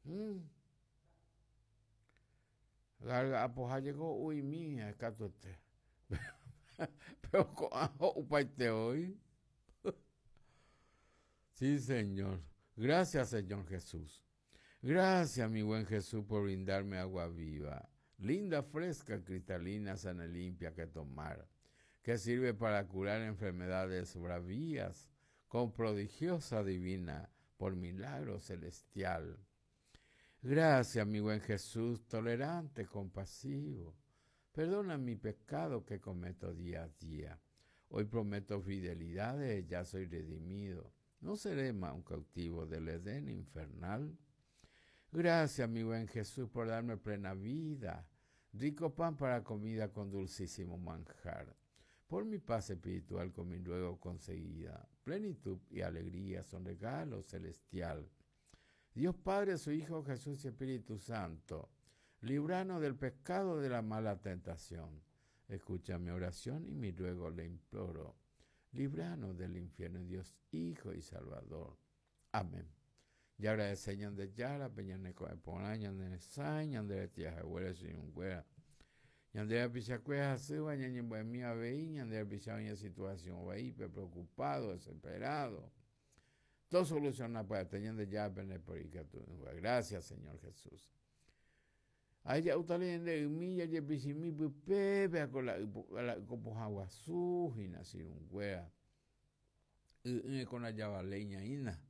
Mm. Gárga apoha jeko ho'u'imi katuete. Pero ko'ã ho'upaite voi. Sí, Señor. Gracias, Señor Jesús. Gracias, mi buen Jesús, por brindarme agua viva, linda, fresca, cristalina, sana y limpia que tomar, que sirve para curar enfermedades bravías, con prodigiosa divina, por milagro celestial. Gracias, mi buen Jesús, tolerante, compasivo. Perdona mi pecado que cometo día a día. Hoy prometo fidelidad, ya soy redimido. No seré más un cautivo del Edén infernal. Gracias, mi buen Jesús, por darme plena vida, rico pan para comida con dulcísimo manjar. Por mi paz espiritual con mi luego conseguida. Plenitud y alegría son regalo celestial. Dios Padre, su Hijo Jesús y Espíritu Santo, libranos del pecado de la mala tentación. Escucha mi oración y mi ruego le imploro. Libranos del infierno, Dios Hijo y Salvador. Amén. Jaagradece Ñandejára pe ñane ko'ẽ porã, ñane resãi, ñande retĩ ahaguére che irũnguéra. Ñande rapichakuéra hasýva ñañembo'emi avei, ñande rapicha oĩ situación vaípe, preocupado, desesperado. Tosoluciona pya'ete Ñandejára pende poikatu'ỹva. Gracias, Señor Jesús. Ahí ja'úta ñande ymi jajepichimi pype péa ko la yko pohã guasu hína che irũnguéra. Y'ỹre ko ndajavaléi ñaína.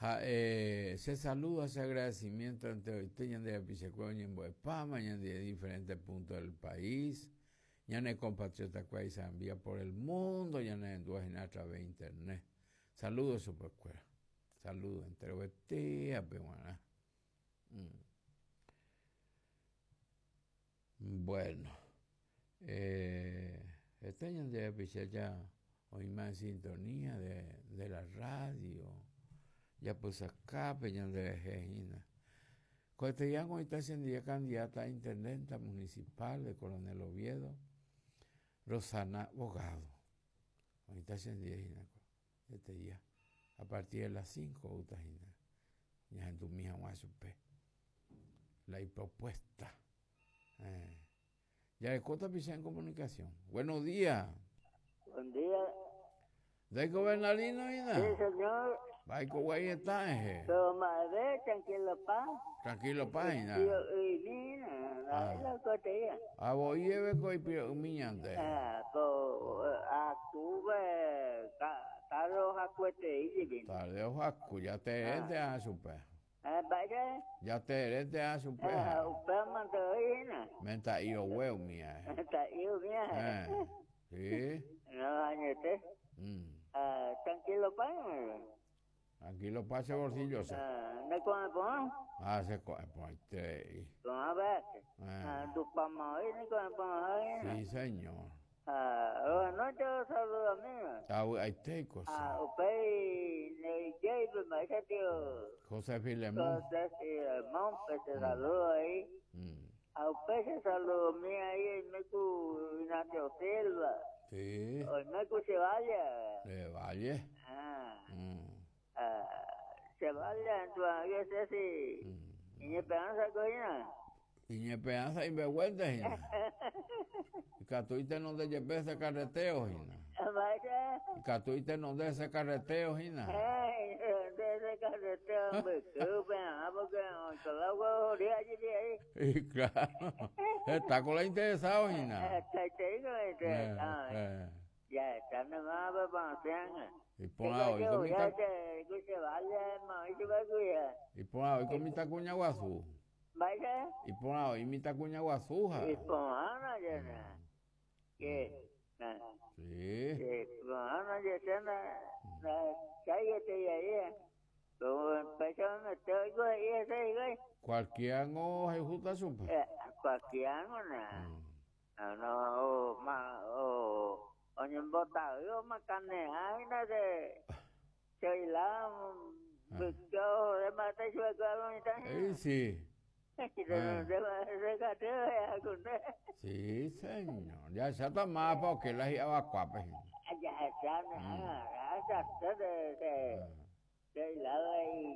Ha che saludo ha che agradecimiento enteroite ñande rapichakuéra oñembo'epáma ñande diferentes puntos del país, ñane compatriota kuéra isambía por el mundo ñanerendúva hína a través de internet. Saludo chupekuéra. Saludo enterovetéape g̃uarã. Bueno, heta ñande rapicha ja oĩma en sintonía de, de la radio, japysakápe ñanderehe hína. Ko'ẽteia oĩta chendive candidata a intendenta municipal de Coronel Oviedo, Rosana Bogado. Oĩta chendive hína ko'ẽteia, a partir de las 5 oúta hína ñahendumi hag̃ua chupe la ipropuesta. Jareko tapicha en comunicación. Buenos días. Buen día. Ndaiko Bernardino hína? Sí, señor. Vaiko guay eta eje. Pero madre, tranquilo pa. Tranquilo pa hína. Ah. Ah, voi eve ko ipiro'ymi ñande. Ah, ko akúve tarde ohakuetei jepi. Tarde ohaku, ya te ah. chupe. Mba'e? Ya te a chupe. Ah, upéva mante oĩ hína. Menta'i rogue umía. Menta'i umía. Sí. No, añete. Ah, tranquilo pa. Tranquilo pa che bolsillo che. Ah, ne ko'ẽ porã. Ah, che ko'ẽ porãiterei. Ko'ã vése. Ah, ndupáma oĩ ne ko'ẽ porãha hína. Sí, señor. Ah, buenas noches, saludos amigo. Avy'aitéiko che. Ah, upéi neijéipe mba'éicha tio. José Filemón. José Filemón, pe che saludo ahí. Ah, upéi che saludomi ahí oime ku Ignacio Silva. Sí. Oime ku Chevalle. Chevalle. Ah. Ah, Chevalle, entonces ese si iñesperanza ko hína. Iñesperanza imbeguénte hína. Ikatu itenonde jepe ese carreteo hína. Mba'éicha? Ikatu itenonde ese carreteo hína. Itenonde ese carreteo mbykýpe hag̃ua porque oikola oguerohory jepi ahí. Y claro, heta ko la interesado hína. Hetaiterei ko la interesado. Jahecháne mávapa osẽanga. Iporã voi ko mitã. Iporã voi ko mitãkuña guasu. Mba'éicha? Iporã voi mitãkuña guasu ha. Iporãna jena. Que na. Sí. Iporãna jena na cháiete ahí. Péicha memete oiko he'i hese hikuái. Cualquiera ngo ohayhúta chupe. Cualquiera ngo na. No, o ma o oñembotavy omakane'a hína che choila mbyky ohore mba'éta ichupekuéra lo mitã hína. Ei sí. Tenonde katu ohejakunde. Sí, señor. Jahecháta mávapa oke la hi'avakuápe hína. Jahecháne ág̃a, jahechase che choila avei.